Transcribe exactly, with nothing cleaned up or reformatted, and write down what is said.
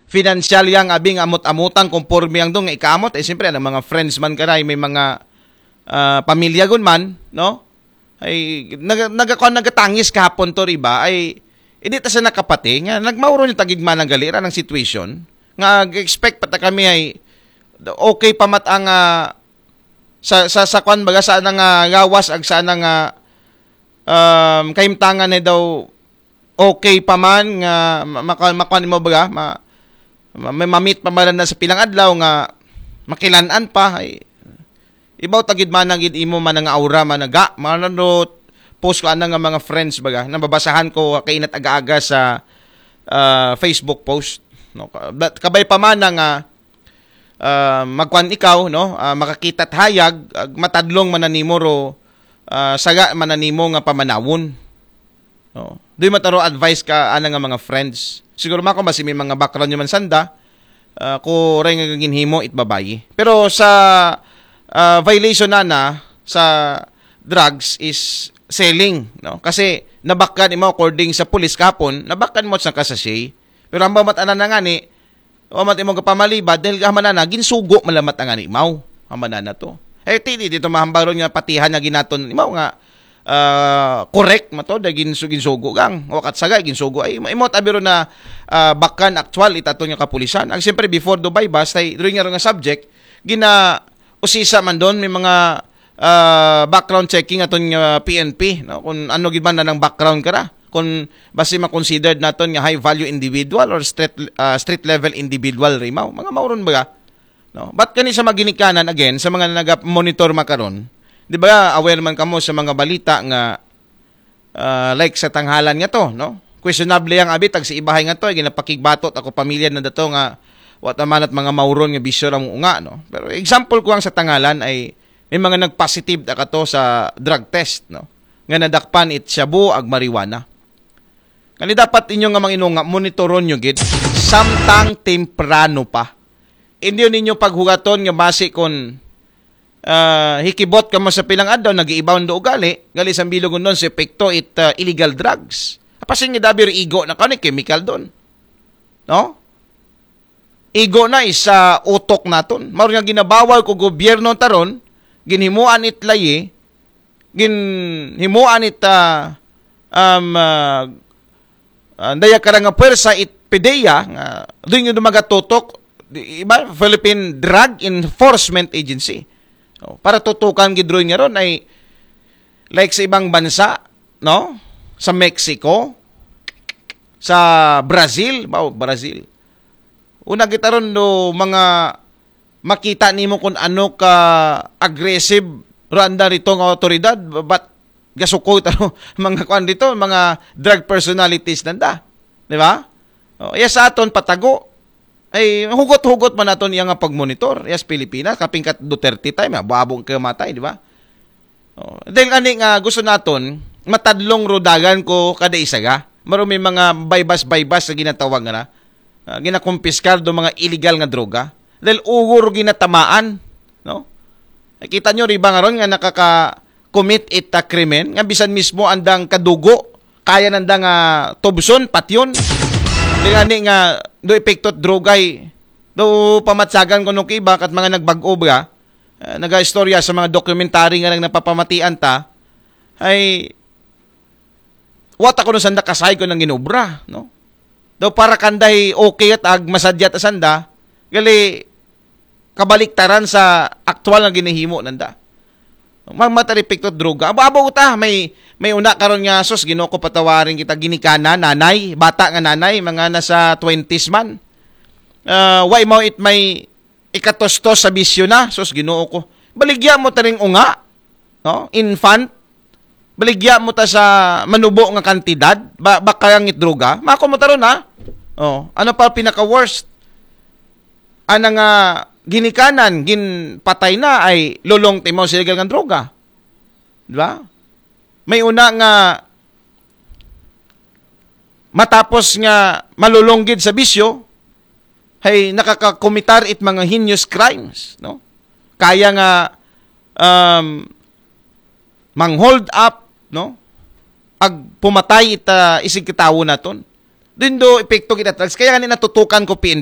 financial yang abi nga amot-amotan konforme ang do nga ikaamot, eh, siyempre, ang mga friends man ka na, may mga ah, pamilya gun man, no? Ay, naga, naga, nagatangis kahapon to, riba, ay, hindi ta sa nakapati, nga nagmauro ni tagigma ng galira ng situation, nga expect pa ta kami ay, okay pa mat ang, ah, sa, sa, sa kwan baga, sa nang, ah, gawas, ag sa nang, ah, um, kaimtangan na daw, okay pa man nga ma- maka- makuan mo baga, ma, ma, ma- mamit pa man na sa pilang adlaw nga makilanan pa, ay, ibaw tagid man ang imo man nga aura man nga, man post ko ana nga mga friends baga, nababasahan ko kainat aga-aga sa ah, Facebook post, no? Ka- but kabay pa man nga ah, magkuan ikaw, no? Ah, makakita hayag, ag matadlong man na nimo ro, ah, saga man na nimo nga pamanawon. No? Doy mataro advice ka ana nga mga friends. Siguro mako basi may mga background nyo man sanda, ah, ko ray nga ginhimo it babayi. Pero sa ah, violation na na sa drugs is selling, no? Kasi nabakkan imo according sa pulis kahapon, nabakkan mo sa kasasay. Pero ang bamat ana na nga ni, o mat imo kapamalibad, dahil ka manana, ginsugo malamat ang animaw. Ang manana to. Eh, ti, di, dito mahambaron nga patihan nga ginaton, imaw nga, ah, correct mo to, dahil ginsu, ginsugo gang. O katsaga, ginsugo. Ay, imo tabiro na ah, bakan actual, itato nga kapulisan. Ang siyempre, before Dubai, basta, doon nga rin nga subject, gina, usisa man doon, may mga ah, background checking aton nga P N P, no? Kung ano gid man na ng background ka ra. Kung basi ma-considered naton nga high value individual or street ah, street level individual rimaw. Mga mauron ba? No? But kani sa mga ginikanan, again, sa mga naga-monitor makaron, di ba, aware man kamo sa mga balita nga ah, like sa tanghalan nga to, no? Questionable ang abit, ag sa ibahay nga to, ay ginapakigbatot ako pamilya na dato nga, wa ta man at mga mauron nga bisyo lang unga, no? Pero example ko ang sa tanghalan ay may mga nagpositive na kato sa drug test, no? Nga nadakpan it shabu ag marijuana. Kani dapat inyo nga mga inunga, monitoron nyo gid samtang temprano pa. Hindi ninyo paghugaton nga basi kung ah, hikibot ka mo sa pilang adlaw, nag-iibaw do ugali, gali sa bilog nun sa epekto it ah, illegal drugs. Apasin nga dabi igo na kani chemical doon. No? Igo na isa utok naton. Mao nga ginabawal ko gobyerno taron, ginhimuan it layi, ginhimuan it ah, um, ah, ah, daya karang nga puwersa it PDEA, nga doon yung dumagatutok, di, iba, Philippine Drug Enforcement Agency. Oh, para tutukan gid ron nga ron ay like sa ibang bansa, no? Sa Mexico, sa Brazil, ba, Brazil. Una kita ron do mga makita nimo kung ano ka aggressive randa rito nga otoridad, but gasukoy taro mga kuan dito, mga drug personalities nanda. Di ba? O, iya sa aton patago. Ay, hugot-hugot man naton iya nga pagmonitor. Iya sa Pilipinas, kaping kat Duterte time, abong kayo matay, di ba? O, dahil ani nga gusto naton, matadlong rodagan ko kada isa ga. Maro may mga baybas-baybas sa ginatawag nga na. Ah, ginakumpiskar do mga illegal nga droga. Dahil ugor ginatamaan, no? Nakita nyo, riba nga ron nga nakaka-commit ita krimen, nga bisan mismo andang kadugo, kaya nanda nga tubson, patyon. Di nga ni nga, do epekto drogay, do pamatsagan ko nung kiba, kat mga nagbag-o ba, ah, naga-istorya sa mga documentary nga nang napapamatian ta, ay, wata ko nung sanda kasay ko nang ginobra, no? Daw para kanday okay at ag masadyat asanda, gali kabaliktaran sa aktual nga ginahimo nanda. Magmataripik to droga. Abo-abo ta, may, may una karon nga sus, Ginoo ko patawarin kita ginikanan, nanay, bata nga nanay, mga nasa twenties man. Ah, why mo it may ikatustos sa bisyo na, sus, Ginoo ko. Baligya mo taring unga, no? Infant, baligya mo ta sa manubo nga kantidad, ba, baka ang droga, mako mo taron ha. Oh, ano pa pinaka-worst? Ana nga ginikanan, ginpatay na ay lulong timaw sa illegal nga droga. Di ba? May una nga matapos nga malulunggid sa bisyo, hay nakakakumitar it mga heinous crimes, no? Kaya nga um, mang-hold up, no? Ag pumatay ita isig katawo naton. Din do epekto kita drugs. Kaya nga ni natutukan ko P N